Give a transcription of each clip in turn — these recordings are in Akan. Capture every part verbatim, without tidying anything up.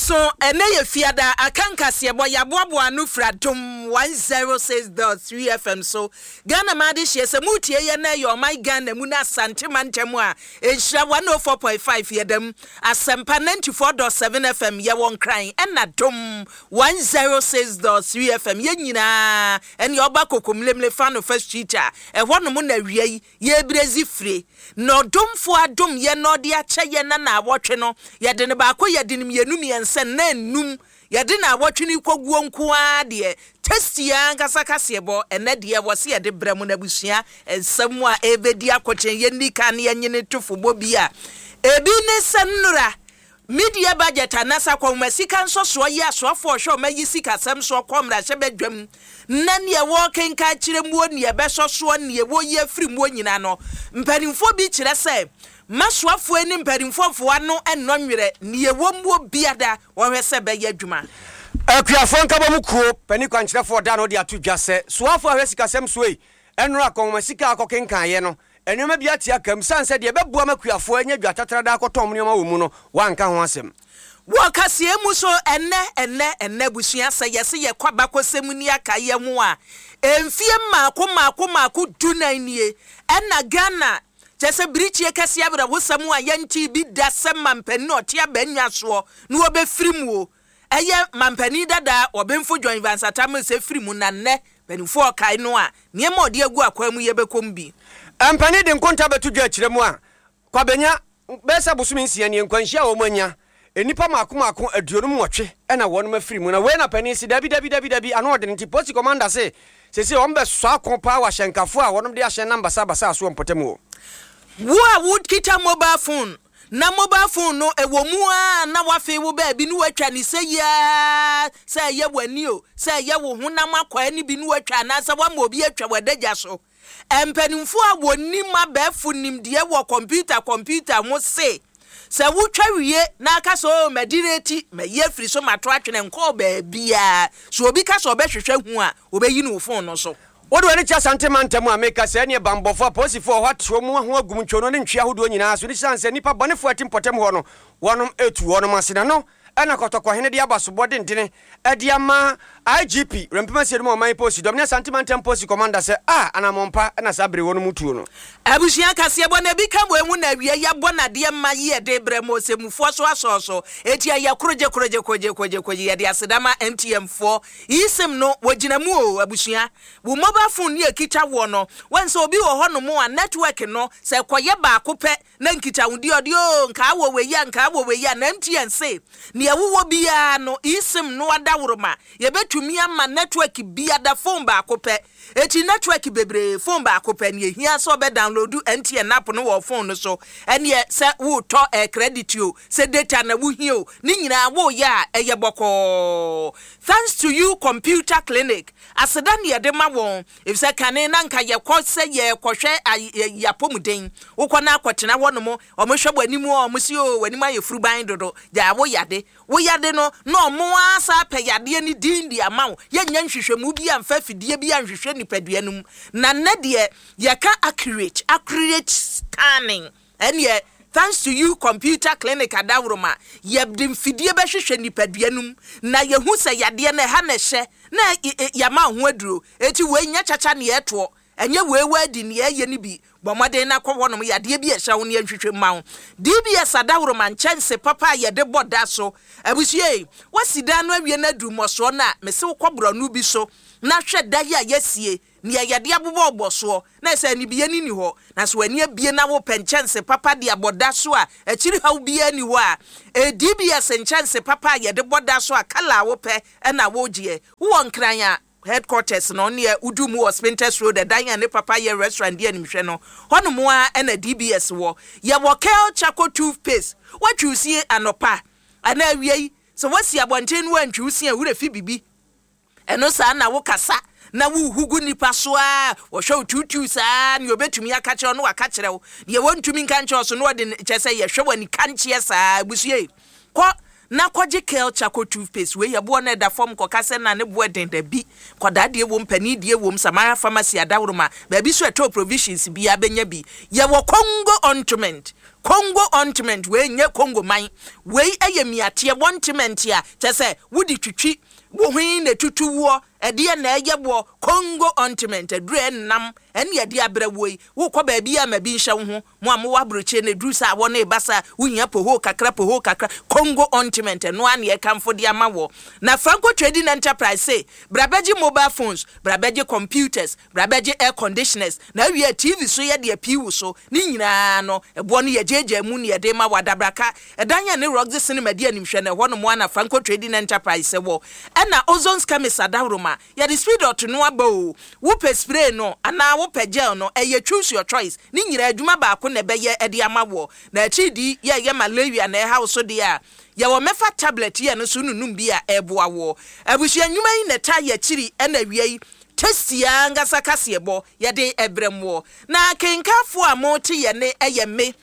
Aso ɛnɛ yɛ Fiada aka nkaseɛbɔ yɛaboaboa ano firi Adom one zero six point three F M so. Ghana ma ade hyeɛ sɛ motie yɛ na ɛyɛ ɔman Ghana mu no, Asante mantam a, Nhyira one oh four point five yɛdam, Asɛmpa ninety-four point seven F M yɛwɔ Nkran, ɛna Dom one zero six point three F M yɛn nyinaa. Ɛne ɔba Kokomlemle fa no First Street a ɛhɔ nom na awia yi yɛbrɛzi fire na ɔdomfoɔ adom yɛ na ɔde akyɛ yɛ na naawɔtwe no yɛde ne baako, yɛde ne mmienu, mmiɛnsa na enum, yɛde naawɔtwe no kɔguo nko ara deɛ tasty ankasa kaseɛbɔ. Ɛnɛ deɛ wɔ se yɛde brɛ mu n'abusua nsɛm a ɛbɛdi akɔkyɛn yɛnni ka ne yɛnyene to fobɔ bi a ebi ne sɛ nnora media budget anasa kɔnma sika nsɔsoɔ yi, asoafoɔ ɔhwɛ ɔma yi sikasɛm soɔ kɔ mmarahyɛ badwam na neɛ wɔkenka kyerɛ muo, neɛ ɛbɛsɔ soɔ, neɛ wɔyi afiri muo nyinaa no, mpanimfoɔ bi kyerɛ sɛ masoafoɔ ne mpanimfoɔ foɔ ano ɛnnɔ nwerɛ neɛ wɔ muo biada wɔhwɛ sɛ bɛyɛ adwuma. Akuafoɔ nkabɔ mu kuo pani kwankyerɛfoɔ da no de ato dwa sɛ soafoɔ a hwɛ sikasɛm soɔ yi, ɛnora akɔnwoma sika akɔkenkaeɛ no, nneɛma bi ate aka mu sane sɛ deɛ ɛbɛboa ma akuafoɔ anya dwa tatrada akɔtɔn nneɛma wɔ mu no, wanka ho asɛm. Wɔ kaseɛ mu so ɛnɛ ɛnɛ ɛnɛ busua, sɛ yɛse yɛkɔ abakɔsɛm ni aka yɛ ho a, mfie mmaako mmaako mmaako dunan nie ɛna Ghana kyɛ sɛ birikyie kɛseɛ awerɛhosɛm a yɛnte bi da sɛ mampanin a ɔte abannwa soɔ na wɔbɛfiri mu o, ɛyɛ mampanin dada Ɔbɛnfo John Evans Atta Mills firi mu. Na nnɛ mpanimfoɔ ɔkae no a, nneɛma a ɔde agu akwan mu yɛbɛkɔm bi. Mpanin de nkonta bɛto dwa akyerɛ mu a Kwabenya bɛyɛ sɛ bosome nsia nie nkwanhyia a wɔn anya nnipa mako mako aduonum nwɔtwe ɛna wɔn afiri mu. Na wei na panin si dabi dabi dabi dabi ano ɔde nti polisi commander se sese wɔn bɛ sɔ ako paa wɔ ahyɛnkafo a wɔn de ahyɛn nam basabasa so wɔ mpɔtam wɔ. Wo a wokita mobile phone na mobile phone no ɛwɔ mu a na wafei wo baabi ne woatwa ne sɛ yiaa, sɛ ɛyɛ w'ani o, sɛ ɛyɛ wo honam akwaa no bi ne woatwa anaasɛ woama obi atwa w'adagya so, mpanimfoɔ a wɔnim abɛɛfo nimdeɛ wɔ kɔmputa kɔmputa ho se sɛ wotwa wie na aka sɛ o madireti mayi afiri so mato atwene nkɔɔ baabiaa so, obi ka sɛ ɔbɛhwehwɛ hu a, ɔbɛyi no wo phone no so. Wode w'ani kyɛ Asante mantam a, meka sɛ ɛneɛ bambɔfoɔ apolisifoɔ hɔ ateɛ mu ho agum ntwono ne ntwe ahodoɔ nyinaa so ne siane sɛ nnipa bɔnefoɔ ati mpɔtam hɔ no, wɔnom ɛtu wɔnom ase. Na no ɛna Kɔtɔkɔhene de aba sobɔ dendene ɛde ama I G P Rɛmpem Asiedum a ɔman polisi dɔm ne Asante mantam polisi commander sɛ a anammɔmpa ɛna saa bere wɔnom tuo no. Abusua, kaseɛ bɔ na ebi ka wɔ ehu na awie yɛbɔ nadeɛ ma yi yɛde brɛ mo ɔsɛmufoɔ so asɔɔ so eti ɛyɛ korogye korogye korogye korogye korogye. Yɛde asedama M T N foɔ eSIM no wɔgyina mu o. Abusua, wo mobile phone ne ekita wɔ no wɔn sɛ obi wɔ hɔnom a network no sɛ kɔyɛ baako pɛ na nkitahodi ɔde o nkaa wɔ wei a nkaa wɔ wei a, na M T N se nea wowɔ biara no, eSIM no adaworoma yɛbɛtumi ama network biada phone baako pɛ eti network bebree, phone baako pɛ. Nea ehia sɛ ɔbɛ download M T N app no wɔ phone no so, ɛneɛ sɛ wotɔ ɛ credit o, sɛ data na wohia o, ne nyinaa woyɛ a ɛyɛ bɔkɔɔ. Thanks to You Computer Clinic, aseda ne yɛde ma wɔn efisɛ kane na nka yɛkɔ sɛ yɛkɔhwɛ yɛapɔmuden, wokɔ na akɔtena hɔ nom, ɔmo hwɛ w'anim a, ɔmo si o w'anim ayɛ furuban dodo, gyaa wo yade wo yade no na ɔmo asa apɛ yadeɛ no din de ama wo. Yɛnyɛ nhwehwɛmu bi amfa afidie bi anhwehwɛ nipadua no mu. Na nnɛ deɛ yɛka accurate accurate scanning, ɛneɛ Thanks to You Computer Clinic adaworoma yɛde mfidie bɛhwehwɛ nipadua no mu na yɛhu sɛ yadeɛ no ɛha na ɛhyɛ na yɛama ho aduro. Eti wei nyɛ kyakya neɛ ɛtoɔ, ɛnyɛ wei wadi neɛ ɛyɛ no bi. Bɔ mmɔden na kɔ hɔnom, yadeɛ bi ɛhyɛ wo ne yɛnhwehwɛ mma wo. D B S adaworoma nkyɛnse papa a yɛde bɔ da so. Abusua yi, wasi dan no awie no aduru mmɔsoɔ no a, mese wokɔ borɔno bi so na hwɛ da yi a yɛasie nea yɛde abobɔ ɔbɔ soɔ na ɛsɛ anibie no ni hɔ. Na sɛ w'ani abie na wopɛ nkyɛnse papa de abɔ da so a akyiri haw biara ni hɔ a, e D B S nkyɛnse papa a yɛde bɔ da so a colour a wopɛ ɛna wogyeɛ. Wowɔ Nkran a, headquarters no neɛ wodu mu wɔ Spintex Road, ɛdan a ne papa yɛ restaurant di animhwɛ no hɔnom a ɛna D B S wɔ. Yɛwɔ Kel Charcoal toothpaste, woatwi wo sie anɔpa anaa awia yi, sɛ woasi abɔnten no woantwi wo sie a, wura fi bibi ɛno saa na wokasa na wohugu nipa so a wɔhwɛ wo tuutuu saa. Nea obɛtumi aka kyerɛ wo no waka kyerɛ wo, deɛ wɔntumi nka nkyerɛ wo so na wɔde kyɛ sɛ yɛhwɛ wɔ ani kankyeɛ saa. Abusue, kɔ Na kɔgye Kel Charcoal Toothpaste. Wei yɛ boɔ no ɛda fam kɔka sɛ na ne boɔ den da bi. Kɔdaa deɛ wom, panin deɛ wom, Samara Pharmacy adaworoma, baabi so ɛtɔ provisions biara bɛnya bi. Yɛwɔ Congo ointment. Congo ointment wei nyɛ Congo man. Wei ɛyɛ miateɛ ointment a kyɛ sɛ wode twitwi wo ho na tutu woɔ, ɛdeɛ na ɛyɛ boɔ. Congo ointment aduru ɛnam ɛne yɛde abrɛ wo yi. Wokɔ baabi a ma bi nhyɛ wo ho. Mo a mowɔ aburokyire no, ɛduru sɛ awɔ no ɛba sa, wohia poho kakra, poho kakra, Congo ointment ɛno a ne yɛkamfo de ama wɔ. Na Franco Trading Enterprise se bra bɛgye mobile phones, bra bɛgye computers, bra bɛgye air conditioners, na awie T V so yɛde apii wo so ne nyinaa no, ɛboɔ no yɛgyeegyaa mu ne yɛde ma wɔ adabraka ɛdan yɛ ne Roxy Cinema di animhwɛ no ɛhɔ nom ana Franco Trading Enterprise wɔ. Ɛna Ozone Chemist adaworoma, yɛde speed ɔto no aba o. Wopɛ spray no anaa wopɛ gel no, ɛyɛ choose your choice. Ne nyinaa adwuma baako na ɛbɛyɛ ɛde ama wɔ. Na akyiri di yɛyɛ malaria na ɛha wo so deɛ a, yɛwɔ mɛfa tablet yɛ no so nunum bi a ɛboa wɔ. Abusua nnwuma yi na ɛta yɛ akyiri. Ɛna awia yi tasty ankasa kaseɛbɔ yɛde ɛbrɛ mu. Na kenkafoɔ a mote yɛ ne ɛyɛ me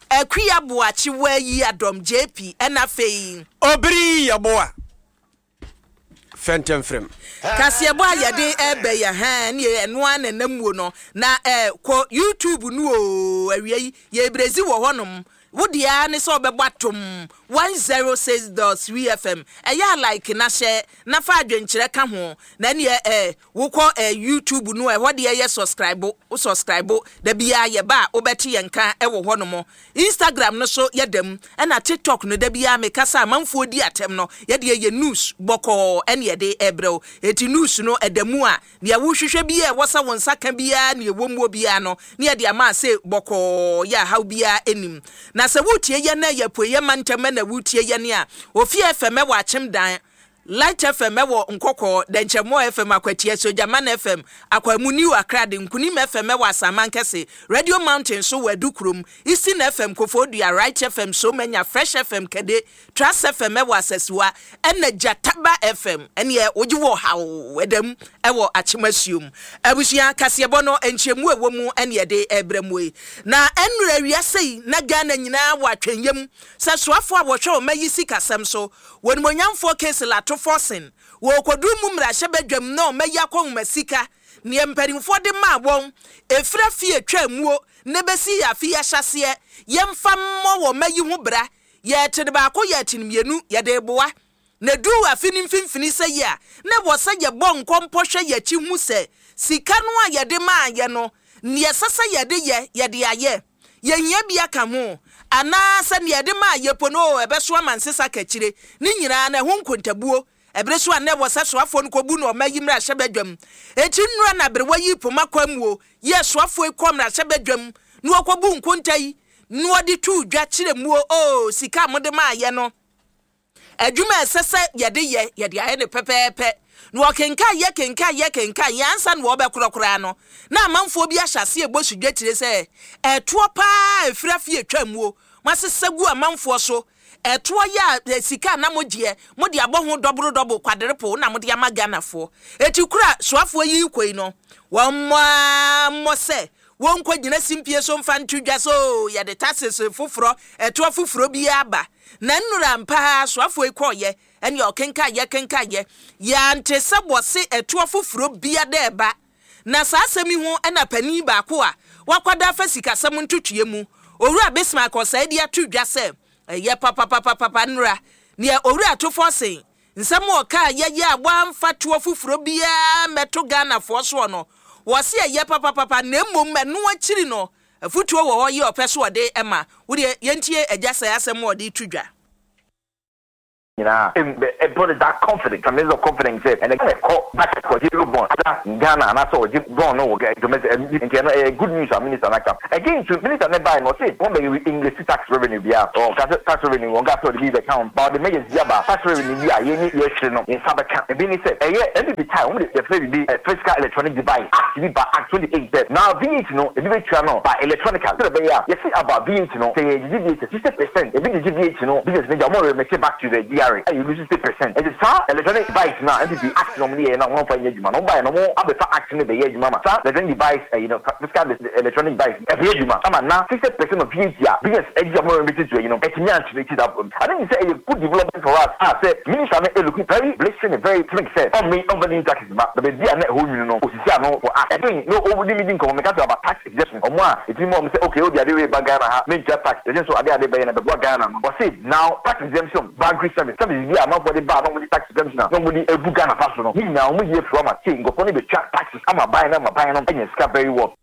Akua Boakye Waayi Adɔm J P, ɛna afei Obiri Yɛboa Fɛntɛmfrɛm. Kaseɛbɔ a yɛde ɛbɛ yɛ hɛn ne ɛno a nanam muo no na ɛ kɔ YouTube no o. Awia yi yɛbrɛzi wɔ hɔnom. Wo deɛ ne sɛ ɔbɛbɔ atom one zero six dot three F M, ɛyɛ a like na hyɛ na fa adwenkyerɛ ka ho. Na ɛneɛ ɛ wokɔ ɛ YouTube no, ɛhɔ deɛ yɛ subscribe, wo subscribe da biara yɛba a wobɛte yɛn nka ɛwɔ hɔnom. Instagram no so yɛda ɛna TikTok no, da biara mekasa amanfoɔ di atɛm no, yɛdeɛ yɛ news bɔkɔɔ ɛne yɛde ɛbrɛ wo. Eti news no ɛda mu a, nea wohwehwɛ biara ɛwɔ sɛ wo nsa ka biara, nea ɛwɔ mu biara no ne yɛde ama ase bɔkɔɔ yɛ ahaw biara anim. Na sɛ wotie yɛ na yɛ apueyɛ mantam na wotie yɛ ne a, Ofie F M ɛwɔ Akyem Dan, Light F M ɛwɔ Nkɔkɔɔ, Dɛnkyɛmmoɔ F M Akwatia, Sogyaman F M Akwamu, New Akrade, Nkunim F M ɛwɔ Asaman Kɛse, Radio Mountain so wɔ Adukurom, Eastern F M Koforidua, Right F M Somanya, Fresh F M Kade, Trust F M ɛwɔ Asasiwa, ɛna Gyataba F M ɛneɛ wogye wɔ haw ɛdam ɛwɔ Akyemasuom. Abusua, kaseɛbɔ no nkyɛmu ɛwɔ mu ɛne yɛde ɛbrɛ mu yi. Na ɛnnora awiase yi na Ghana nyinaa wɔ atwɛnyam sɛ soafoɔ a wɔhwɛ ɔma yi sikasɛm so, wɔnimonyamfoɔ Cassiel Ato Forson, wɔkɔduru mu mmarahyɛbadwam na ɔma yi akɔnwoma sika neɛ mpanimfoɔ de maa wɔn ɛfira fie twa muo ne bɛsi yɛ afe yɛahyɛseɛ, yɛmfa mmɔ wɔ ma yi ho bra. Yɛte ne baako, yɛte ne mmienu, yɛde boa na duru afe no mfimfini sɛ yi a, na wɔ sɛ yɛbɔ nkɔmpɔ hwɛ yɛkyi hu sɛ sika no a yɛde maa yɛ no, neɛ ɛsɛ sɛ yɛde yɛ, yɛde ayɛ, yɛhia bi aka ho anaasɛ neɛ yɛde maa yɛ po no ɛbɛso ama nsesa kakyire ne nyinaa na ɛho nkontabuo. Ɛbere so a na ɛwɔ sɛ soafoɔ no kɔbu no ɔma yi mmarahyɛ badwam. Eti nnura na aberewa yi poma kwan mu o yɛ soafoɔ yi kɔ mmarahyɛ badwam na wɔkɔbu nkonta yi na wɔde tu dwa kyerɛ mu o, sika a mode maa yɛ no, adwuma a ɛsɛ sɛ yɛde yɛ, yɛde ayɛ ne pɛpɛɛpɛ. Na wɔkenkan yɛ kenkan yɛ kenkan yɛ ansa na wɔbɛkorɔkoraa no, na amanfoɔ bi ahyɛ aseɛ ɛbɔ sudwa kyerɛ sɛ ɛtoɔ paa ɛfiri afie atwa muo masesa gu amanfoɔ so. Ɛtoɔ yɛ a sika a na mogyeɛ mode abɔ ho double double, quadruple na mode ama Ghanafoɔ. Eti kura soafoɔ yi kɔ yi no, wɔn mmɔ mmɔ sɛ wɔnkɔ gyina simpie so mfa nto dwa so yɛde taxes foforɔ, ɛtoɔ foforɔ bi aba. Na nnura mpaa soafoɔ yi kɔɔyɛ ɛne ɔkenkan yɛ kenkan yɛ yɛante sɛ wɔse ɛtoɔ foforɔ bia dɛ ɛba. Na saa asɛm yi ho ɛna panin baako a wakɔda afa sikasɛm ntotue mu, Owura Bismarck Ɔsɛe, de ato dwa sɛ ɛyɛ papapapapa nnura nea Owura Ato Forson nsɛm a ɔkaa yɛyɛ a wɔamfa toɔ foforɔ biara mmɛto Ghanafoɔ soɔ no, wɔse ɛyɛ papapapa. Na mmom ɛno akyiri no, afotuo wɔ hɔ yi ɔpɛ so ɔde ɛma wodeɛ. Yɛntie agya sɛ asɛm a ɔde to dwa. Nyinaa ɛbɔ that confidence, tremendous of confidence sɛ ɛnɛ Ghana kɔ back kɔ gye bond ada Ghana anaasɛ ɔgye bond no wɔ domestic. Nti ɛno ɛyɛ good news a minister n'aka. Again to minister ne baa no, ɔse wɔn bɛ English tax revenue bi a ɔka sɛ tax revenue, wɔn ka sɛ ɔde bi bɛka ho ba, ɔde measures bi aba, tax revenue bi a yɛn yɛhwere no yɛn nsa bɛka. Ebi ni sɛ ɛyɛ N P P time, wɔn de yɛfrɛ bibi Fiscal Electronic Device Act bi ba, Act twenty eight, sɛ now V A T no ebi bɛ tua no by electronical sɛ ɛbɛyɛ a yɛsi about V A T no, sɛ yɛ gyegye V A T sixty percent, ebi gyegye V A T no, business ne gya wɔn remit back to the G R A. G R A ɛyɛ lose sixty percent. Ɛti saa electronic device na N P P act na ɔmo de yɛ na wɔn fa nyɛ adwuma na ɔmo ba yɛ na ɔmo abɛfa act no bɛyɛ adwuma ma saa electronic device ɛyi no, fiscal electronic device ɛbɛyɛ adwuma ama na sixty percent of V A T a business ɛgye a ɔmo bɛ ti ɛyi no ɛtumi ankyerɛ ti that. I think sɛ ɛyɛ good development for us a sɛ minister no ɛ look very blistering and very frank sɛ ɔmme ɔmfa new taxes ba na baabi a na ɛhɔ nwunu no osisi ano for us. Ɛdɛn no ɔmo di mi di nkɔmɔ meka to about tax exemption, ɔmo a etimi mu ɔmo sɛ okay, odi ade wei ba Ghana ha, mentua tax, ɛsɛ so ade ade bɛyɛ na bɛboa Ghana no. Wɔsi now tax exemption, banking service service bi a amanfoɔ de ba a na ɔmo de tax exemption a na ɔmo de egu Ghana fa so no ne nyinaa ɔmo yie firi ɔmo ase nkɔfoɔ no bɛtwa taxes ama ban no ama ban no ɛnya sika very well.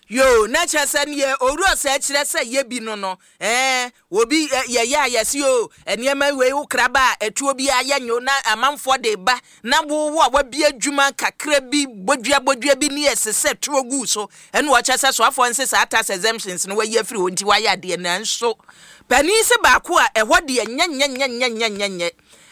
Yo, na kyerɛ sɛ neɛ owura sɛ kyerɛ sɛ yɛ bi no no ɛɛ obi yɛyɛ a yɛsi o nneɛma wei wo kraba a ɛtuo bi ayɛ nyo na amanfoɔ de ba na wowo a wabi adwuma kakra bi bodua bodua bi ne yɛsesɛ tuo gu so. Ɛna wɔkyerɛ sɛ soafoɔ nse saa tax exemptions no wayi afiri hɔ nti wayɛ adeɛ. Nanso panin sɛ baako a ɛhɔ deɛ nyɛnyɛnyɛnyɛnyɛnyɛ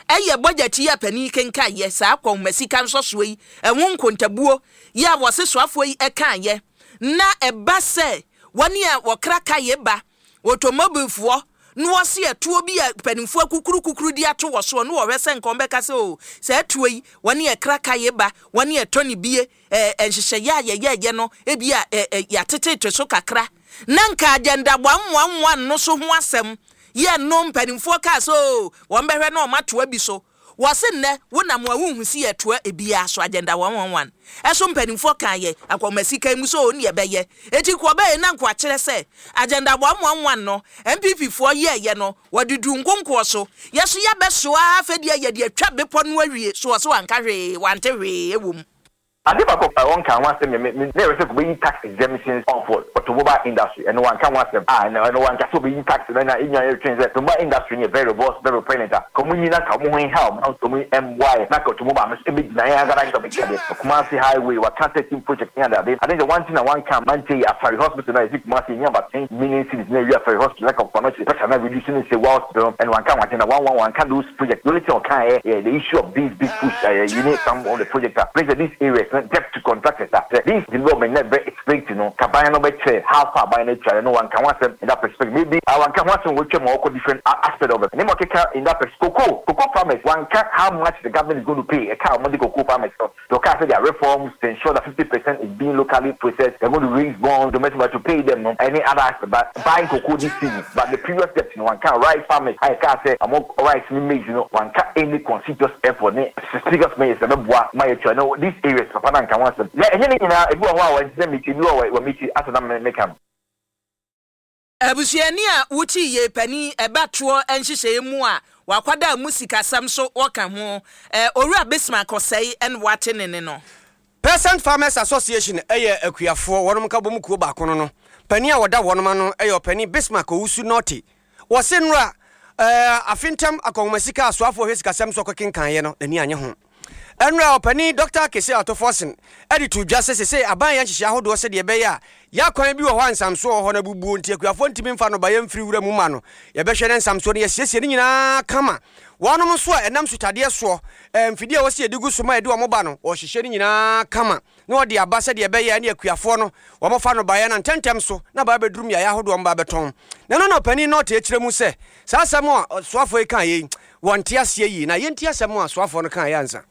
ɛyɛ budget yi a panin kenka yɛ saa kɔnma sika nsɔsoɔ yi ɛho nkontabuo yi a wɔse soafoɔ yi ɛka yɛ na ɛba sɛ wɔne a wɔkra kaeɛ ba automobilefoɔ na wɔse ɛtoɔ bi a mpanimfoɔ kukuru kukuru di ato wɔ soɔ na wɔhwɛ sɛ nkɔm bɛka sɛ o sɛ ɛtoɔ yi wɔne ɛkra kaeɛ ba wɔne ɛtɔ ne bie ɛɛ nhyehyɛeɛ a yɛyɛɛyɛ no ebi a ɛɛ yɛatetete so kakra na nka Agenda one one one no so ho asɛm yɛ no mpanimfoɔ kaa sɛ o wɔn bɛhwɛ na wɔn atoa bi so. Wɔse nnɛ wonam a wohu si yɛtoa ebiara so Agenda one one one ɛso mpanimfoɔ kan yɛ akɔmasika mu so ne yɛbɛyɛ eti kɔ ɔbɛyɛ na nko akyerɛ sɛ Agenda one one one no N P P foɔ yɛɛyɛ no wɔde du nkonkoɔ so yɛso yɛbɛsoa afɛ deɛ yɛde atwa bepɔ no awie so wɔ so wanka hwee wante hwee ɛwɔ mu. Ade baako a wɔnka ho asɛm yɛ me me na yɛrɛ sɛ kɔbɛyi tax exemptions for automobile industry. Ɛno wanka ho asɛm a ɛno ɛno wanka sɛ ɔbɛyi tax no na enya yɛ twɛn sɛ automobile industry no yɛ very robust, very pregnant a ka ɔmo nyina ka ɔmo ho nha ɔmo ɔmo mboa yɛ na ka automobile no so ɛbɛgyina yɛn agada nkita bɛgyina deɛ Kumasi highway waka thirteen project ne ade ade. I think the one thing na wanka mante yɛ Afari Hospital na yɛsi Kumasi enya about ten million cedis na ewi Afari Hospital na ka ɔfa no kyerɛ pressure na reduce ne sɛ wa hospital no. Ɛno wanka ho agenda one one wanka those projects. The only thing ɔka yɛ yɛ the issue of this big push ɛyɛ you need some of the projects a place these areas no debt to contractors a sɛ this development na very expect no kaban no bɛkyerɛ how far ban no atwa no. Wanka ho asɛm in that perspective. Maybe uh, wanka ho asɛm wɔtwa ma ɔkɔ different aspect of it ne ma ɔkeka in that perspective. cocoa cocoa farmers, wanka how much the government is going to pay ɛka a wɔde cocoa farmers no. The ɔka sɛ there are reforms to ensure that fifty percent is being locally processed, they're going to raise bonds domestic but to pay them no any other aspect but buying cocoa this season. But the previous steps no wanka. Rice farmers a yɛka sɛ ɔmo rice ne maize no wanka any conscious effort ne serious measures ɛbɛboa ma yɛtua no these areas. Papa na nka ho asɛm yɛ ɛnyɛ ne nyinaa. Ebi wɔ hɔ a wɔn ti ebi wɔ wɔ mi ti asɛ na meka no. Abusuani a wokyi yie panin ɛbɛtoɔ nhyehyɛeɛ mu a wakwada mu sikasɛm so wɔka ho ɛɛ Owura Bismarck Ɔsɛe ɛna wate ne ne no. Peasant Farmers Association ɛyɛ akuafoɔ wɔnom ka bɔ mu kuo baako no no panin a wɔda wɔnom ano ɛyɛ ɔpanin Bismarck Owusu Nɔte. Wɔse nnora ɛɛ afe ntam akɔnhoma sika asoafoɔ hwɛ sikasɛm so ɔkɔkenkaeɛ no n'ani anyɛ ho. Ɛnora ɔpanin Doctor Cassiel Ato Forson ɛde to dwa sɛ sese aban yɛ nhyehyɛ ahodoɔ sɛdeɛ ɛbɛyɛ a yɛakwan bi wɔ hɔ a nsamsoɔ wɔ hɔ no abubuo nti akuafoɔ ntumi mfa nnɔbaeɛ mfiri wura mu ma no. Yɛbɛhwɛ ne nsamsoɔ no yɛsiesie no nyinaa kama. Wɔnom nso a ɛnam sutadeɛ soɔ mfidie a wɔsi yɛde gu so ma yɛde wɔn ba no wɔhyehyɛ no nyinaa kama na wɔde aba sɛdeɛ ɛbɛyɛ ne akuafoɔ no wɔmfa nnɔbaeɛ no ntɛntɛm so na baa bɛduru mmeaeɛ ahodoɔ mba bɛtɔn. Na ɛno na ɔpanin na ɔte akyerɛ mu sɛ saa asɛm a soafoɔ yi kaa yei wɔnte aseɛ yie na yɛnti asɛm a soafoɔ no kaa yɛ ansa.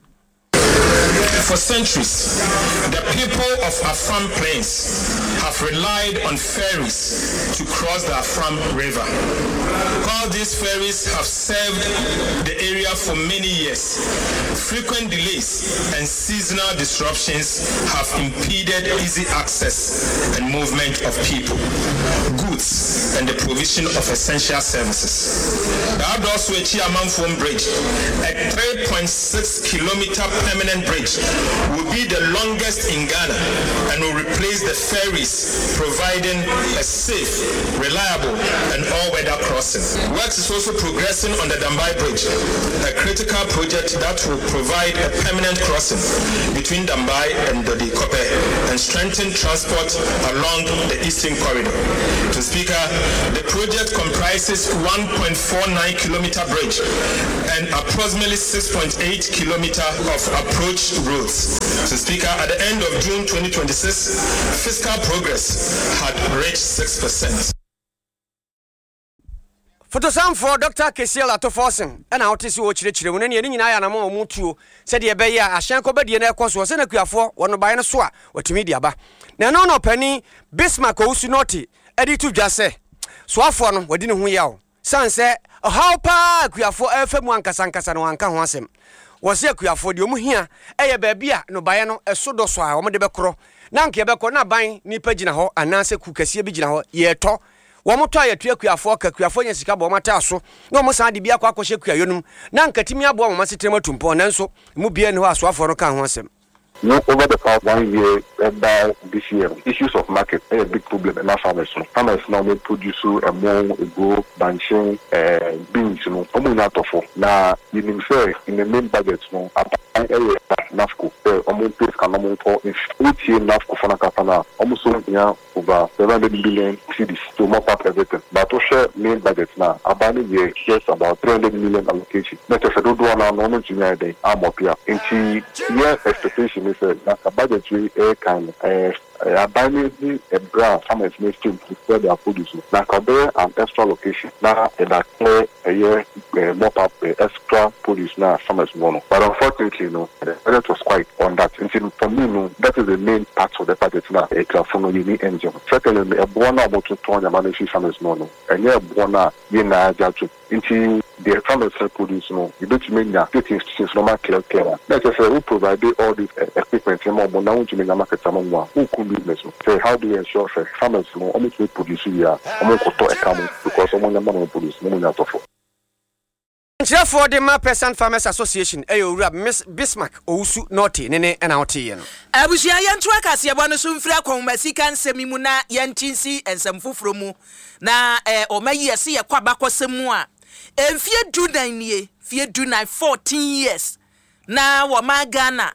For centuries, the people of Afram Plains have relied on ferries to cross the Afram River. While these ferries have served the area for many years, frequent delays and seasonal disruptions have impeded easy access and movement of people, goods, and the provision of essential services. The Adoaso Amanfrom Bridge, a three point six kilometer permanent bridge, will be the longest in Ghana and will replace the ferries, providing a safe, reliable, and all-weather crossing. Works is also progressing on the Dambai Bridge, a critical project that will provide a permanent crossing between Dambai and Dodikope and strengthen transport along the Eastern Corridor. Mister Speaker, the project comprises one point four nine kilometer bridge and approximately six point eight kilometer of approach roads. Mister Speaker, at the end of June twenty twenty-six, fiscal progress had reached six percent. Fotosanfoɔ Dɔkta Cassiel Ato Forson na wote sɛ ɔrekyerɛkyerɛ mu no, neɛ ne nyinaa yɛ anamɔn a wɔtuo sɛdeɛ ɛbɛyɛ a ahyɛn kɔbadie no rekɔ soɔ sɛ na akuafoɔ wɔ nnɔbaeɛ no so a wɔatumi de aba. Na ɛno na ɔpanin Bismarck Owusu Nortey de reto dwa sɛ soafoɔ no wadi ne ho yaw sane sɛ ɔhaw pa ara a akuafoɔ refa mu ankasa ankasa no wanka ho asɛm. Wɔse akuafoɔ deɛ wɔn hia yɛ baabi a nnɔbaeɛ no so dɔ so a wɔde bɛkorɔ na anka yɛbɛkɔ na aban nipa gyina hɔ anaasɛ kuo kɛseɛ bi gyina hɔ yɛretɔ. Wɔtɔ a yɛtua akuafoɔ ka, akuafoɔ nya sika bɔ wɔn ataaso na wɔsan de bi akɔ akɔhyɛ kuayɔ no mu na anka atumi aboa wɔn asetena mu atu mpɔn nanso emu biara nni hɔ a asoafoɔ no kaa ho asɛm. No over the past one year ɛba this year no issues of market ɛyɛ big problem ɛma farmers no. Farmers no a wɔn produce ɛmo, eburo, bankye, ɛɛ beans no wɔn nnya atɔfo. Na yɛnim sɛ in the main budget no aban ɛyɛ NAFCO sɛ wɔn mpɛ sika na wɔn ntɔ nfi. Wotie NAFCO fo no ankasa no a wɔn nso hia over seven hundred million cedis to mop up everything but wohwɛ main budget no a aban no yɛ just about three hundred million allocation na kyerɛ sɛ dodoɔ no ara no wɔn ntumi ayɛ dɛn amop up nti yɛ expectation ne sɛ na nka budget wei ɛrekan no ɛɛ aban no hu ɛberɛ a farmers no still to sell their produce no na nka ɔbɛyɛ an extra allocation na yɛde aclear ɛyɛ mop up extra produce no a farmers wɔ no but unfortunately no the budget was quite on that nti for me no that is the main part of the budget na akuafo no yɛni ngye ho. Secondly no ɛboɔ no a wɔtotɔn nneɛma no fi farmers no no ɛnyɛ ɛboɔ no a yɛn nyinaa agye atom nti deɛ farmers no produce no yɛbɛtumi anya state institutions no ma clear clear a na ɛkyerɛ sɛ wo provide all this equipment ma ɔmo na wontumi nya market ama mu a wokum business no sɛ how do you ensure sɛ farmers no ɔmo tumi produce wie a ɔmo nkɔtɔ ɛka mu because ɔmo nneɛma na ɔmo produce no ɔmo nya atɔfo. Nkyerɛfoɔ de ma Peasant Farmers Association yɛ Owura Bismarck Owusu Nortey ne ne na woteeɛ no. Abusua, yɛntoa kaseɛbɔ no so mfiri akɔnhomasika nsɛm yi mu na yɛnte nsi nsɛm foforɔ mu. Na eh, ɔma yi ɛse yɛkɔ abakɔsɛm mu a, mfeɛ du nan nie, mfeɛ du nan, fourteen years, na wɔma Ghana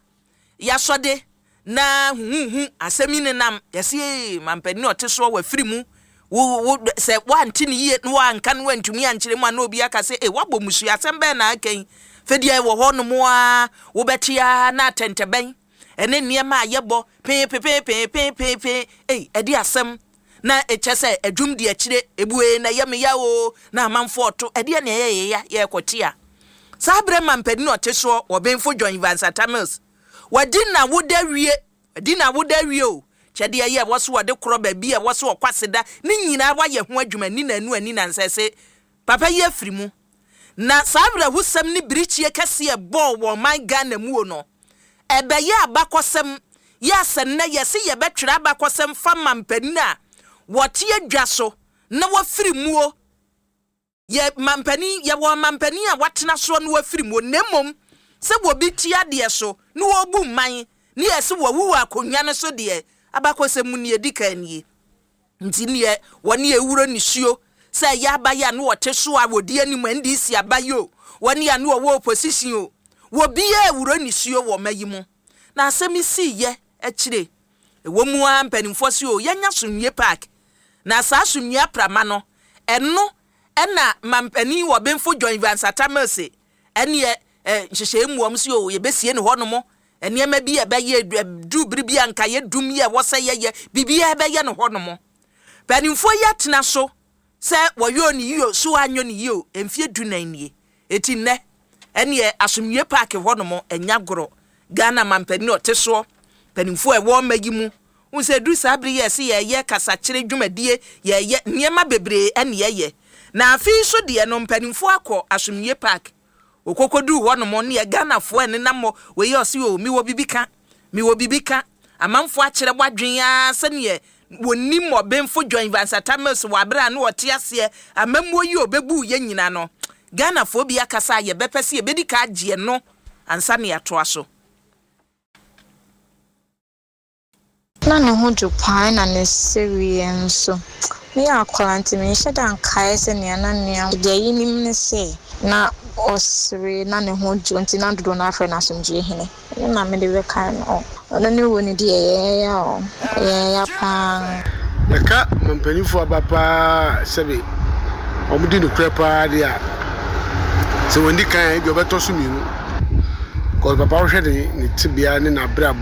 yɛasɔde na huhuhu asɛm yi nenam, yɛse ee, mampanin a ɔte soɔ wafiri mu, wo wo sɛ woante ne yie na woanka no woantumi ankyerɛ mu a na obi aka sɛ ee woabɔ mmusua asɛm bɛn na aka yi fɛdeɛ ɛwɔ hɔ nom a wobɛte a na atɛntɛbɛn ɛne nneɛma a yɛbɔ pee pee pee pee pee pee ei ɛde asɛm na ɛkyɛ sɛ adwum di akyire ebue na ɛyɛ me ya o na amanfoɔ ɔto ɛdeɛ na ɛyɛ yɛ ya yɛrekɔte a saa berɛ mampanin ɔte soɔ wɔbenfo John Evans Atta Mills wadi na woda wie wadi na woda wie o kyɛdeɛ yɛ ɛwɔ so wɔde korɔ baabi a ɛwɔ so ɔkɔ aseda ne nyinaa wayɛ ho adwuma ni nanu ani nansa sɛ papa yi afiri mu na saa awerɛhosɛm ne birikyie kɛseɛ ɛbɔɔ wɔ ɔman Ghana mu o no ɛbɛyɛ abakɔsɛm yɛ asɛ nnɛ yɛse yɛbɛtwerɛ abakɔsɛm fa ma mpanin a wɔte adwa so na wɔfiri muo yɛ mampanin yɛwɔ mampanin a watena soɔ na wɔafiri muo na mmom sɛ wɔbi te adeɛ so na wɔbu man ne yɛsɛ wɔwu wɔ akonnwa no so deɛ abakɔsɛm mu ne yɛdi kan nie nti neɛ wɔne ewuro nisuo sɛ ɛyɛ abayɛ a na wɔte so a wɔdi anim N D C abayɛ o wɔne a na wɔwɔ opposition o wɔbiara ewuro nisuo wɔ ɔma yi mu na asɛm si yɛ akyire ɛwɔ mu a mpanimfoɔ si o yɛnya Asomdwie Park na saa asomdwie aprama no ɛno ɛna mampanin wɔ benfo John Evans Atta Mills ɛneɛ ɛ nhyehyɛe mu wɔn si o yɛbɛsie ne hɔnom nneɛma bi a ɛbɛyɛ du bere bi a nka yɛ dum yɛ ɛwɔ sɛ yɛyɛ biribiara bɛyɛ no hɔnom mpanimfoɔ yi atena so sɛ wɔyɛ ne yie so anyɔ ne yie o mfie du nan nie eti nnɛ ɛneɛ Asomdwie Park hɔnom ɛnya gorɔ Ghana mampanin ɔte soɔ mpanimfoɔ a ɛwɔ ɔma yi mu n sɛ duru saa bere yɛ sɛ yɛyɛ kasakyerɛ dwumadie yɛyɛ nneɛma bebree ɛne yɛyɛ na afei nso deɛ no mpanimfoɔ akɔ Asomdwie Park okokoduru hɔnom ne yɛ Ghanafoɔ ɛnenam hɔ wei ɔse o mewɔ bibi ka mewɔ bibi ka amanfoɔ akyerɛ wadwen ara sɛneɛ wɔnim ɔbenfo John Evans Atta Mills wɔ abere a na ɔte aseɛ amammuo yi a ɔbɛbu yɛn nyina no Ghanafoɔ bi akasa a yɛbɛpɛ sɛ yɛbɛdi ka agyeɛ no ansa ne yɛatoa so. Na ne ho dwo paa na ne sereɛ nso. Meyɛ akwadaa nti menhyɛ da nkae sɛnea na nea deɛ yɛnim ne sɛ na ɔsere na ne ho dwo nti na dodoɔ no afrɛ no asomdwoe hene. Ɛno na mede bɛkae no. Ɔno ne wu no deɛ ɛyɛ ya o, ɛyɛ ya paa. Yɛka mpanimfoɔ aba paa sɛbe wɔn di nokorɛ paa deɛ a sɛ wɔn di kan a ebi ɔbɛtɔ so mmienu kɔs papa wohwɛ ne ne tebea ne n'abrabɔ.